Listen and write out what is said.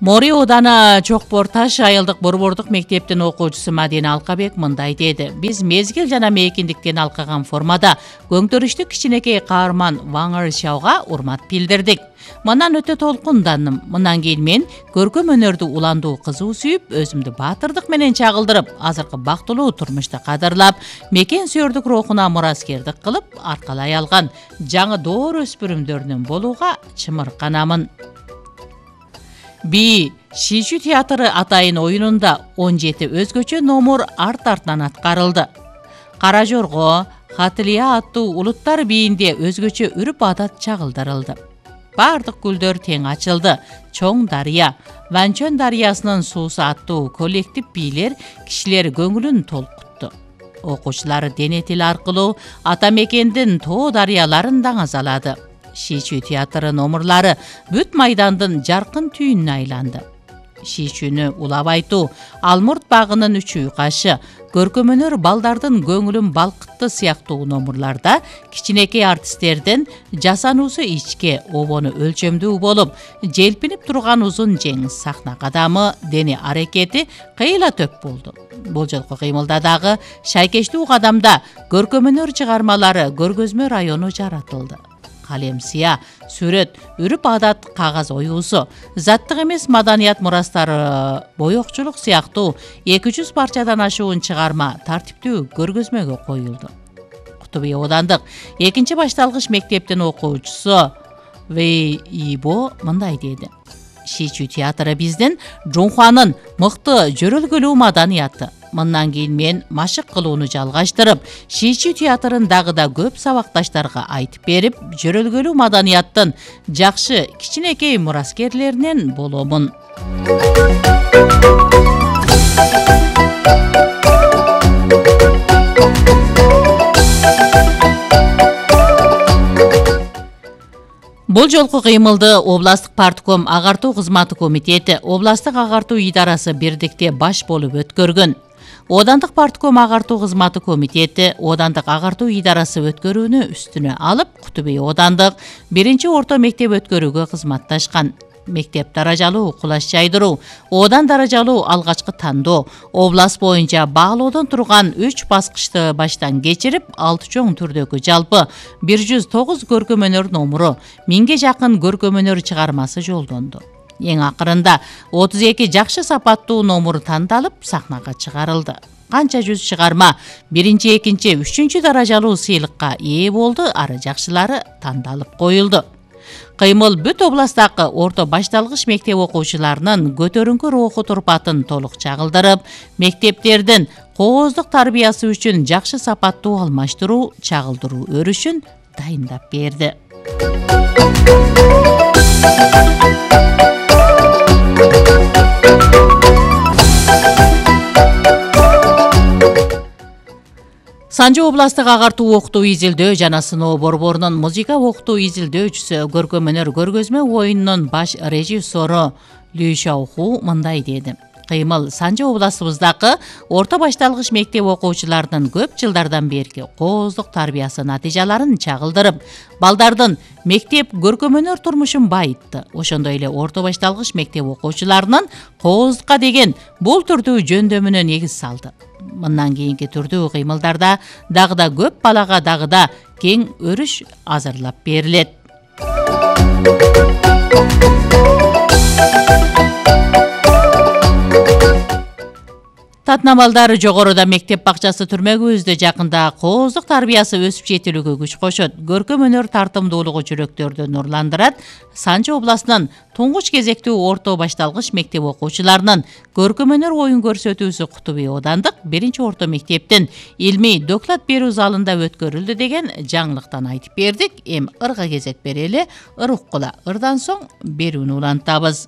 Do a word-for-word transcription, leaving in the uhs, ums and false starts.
Мори ооданы Чокбор Таш айылдык борбордук мектептин окуучусу Мадина Алкабек мындай деди. Биз мезгил жана мейкиндиктен алкаган формада көңтөрүштүү кичинекей каарман Ваңыр Шауга урмат билдирдик. Мындан өтө толкундандым. Мындан кийин мен көркөм өнөрдү уландуу кызуу сүйүп, өзүмдү баатырдык менен чагылдырып, азыркы бактылуу турмушту кадырлап, мекен сүйөрдүк рухуна мураскердик кылып, аркалай алган жаңы доор өспүрүмдөрүнөн болууга чымырканамын. Би Шичүү театры атайын оюнунда он жети өзгөчө номур арт-артынан аткарылды. Кара Жорго, Хатылия аттуу улуттар бийинде өзгөчө үрүп адат чагылдырылды. Бардык гүлдөр тең ачылды. Чоң дарыя, Ванчөн дарыясынын суусу аттуу коллектив бийлер кишилер көңүлүн толкутту. Окуучулар дене тили аркылуу ата мекендин тоо дарыяларын даңазалады. Шичүү театры номурлары бүт майдандын жаркын түйүнүнө айланды. Шичүүнү улап айтуу, Алмурт багынын үчүү кашы, көркөм өнөр балдардын көңүлүн балкытты сыяктуу номурларда кичинекей артисттердин жасануусу ичке, обону өлчөмдүү болуп, желпинип турган узун жеңиз сахна кадамы, дене аракети кыйла төп болду. Бул жолку кыймылда дагы шайкештүү кадамда көркөм өнөр чыгармалары көргөзмө району жаратылды. Калем сыя, сүрөт, үрүп адат кагаз оюусу, заттык эмес маданият мурастары, боёкчулук сыяктуу эки жүз парчадан ашуун чыгарма тартиптүү көргөзмөгө коюлду. Кутубий оодандык экинчи башталгыч мектептин окуучусу Вэй Ибо мындай деди. Шичүү театры биздин Жунхуанын мыкты жөрөлгөлүү маданияты. Мындан кийин мен машык кылууну жалгаштырып, Шичүү театрын дагы да көп сабакташтарга айтып берип, жөрөлгөлүү маданияттын жакшы кичинекей мураскерлеринен боломун. Бул жолку кыймылды областтык партком агартуу кызматы комитети, областтык агартуу идарасы бирдикте баш болуп өткөргөн. Оодандык партком агартуу кызматы комитети оодандык агартуу идарасы өткөрүүнү үстүнө алып, Кутубий оодандык биринчи орто мектеп өткөрүүгө кызматташкан. Мектеп даражалуу кулаш жайдыруу, оодан даражалуу алгачкы тандоо, област боюнча баалоодон турган үч баскычты баштан кечирип, алты чоң түрдөгү жалпы бир жүз тогуз көркөм өнөр номуру, миңге жакын көркөм өнөр чыгармасы жолдонду. Эң акырында отуз эки жакшы сапаттуу номур тандалып, сахнага чыгарылды. Канча жүз чыгарма биринчи, экинчи, үчүнчү даражалуу сыйлыкка ээ болду, ары жакшылары тандалып коюлду. Кыймыл бүт областтагы орто башталгыч мектеп окуучуларынын көтөрүңкү руху турпатын толук чагылдырып, мектептердин кооздук тарбиясы үчүн жакшы сапаттуу алмаштыруу, чагылдыруу өрүшүн дайындап берди. Санжы областтык агартуу окутуу изилдөө жана сыноо борборунун музыка окутуу изилдөөчүсү, көркөм өнөр көргөзмө оюнунун баш режиссеру Лю Шаоху мындай деди. Кыймыл Санжы областыбыздагы орто башталгыч мектеп окуучуларынын көп жылдардан берки кооздук тарбиясы натыйжаларын чагылдырып, балдардын мектеп көркөм өнөр турмушун байытты. Ошондой эле орто башталгыч мектеп окуучуларынын кооздукка деген бул түрдүү жөндөмүнө негиз салды. Мындан кийинки түрдүү кыймылдарда дагы да көп балага дагы да кең өрүш азырлап берилет. Татнамалдар жогоруда мектеп бакчасы түрмөгүбүздө жакында кооздук тарбиясы өсүп жетилүүгө күч кошот. Көркөм өнөр тартымдуулугу жүрөктөрдү нурландырат. Санжы областынын туңгуч кезектүү орто башталгыч мектеп окуучуларынын көркөм өнөр оюн көрсөтүүсү Кутубий оодандык биринчи орто мектептин илмий доклад берүү залында өткөрүлдү деген жаңылыктан айтып бердик. Эми ырга кезек берели, ыр уккула, ырдан соң берүүнү улантабыз.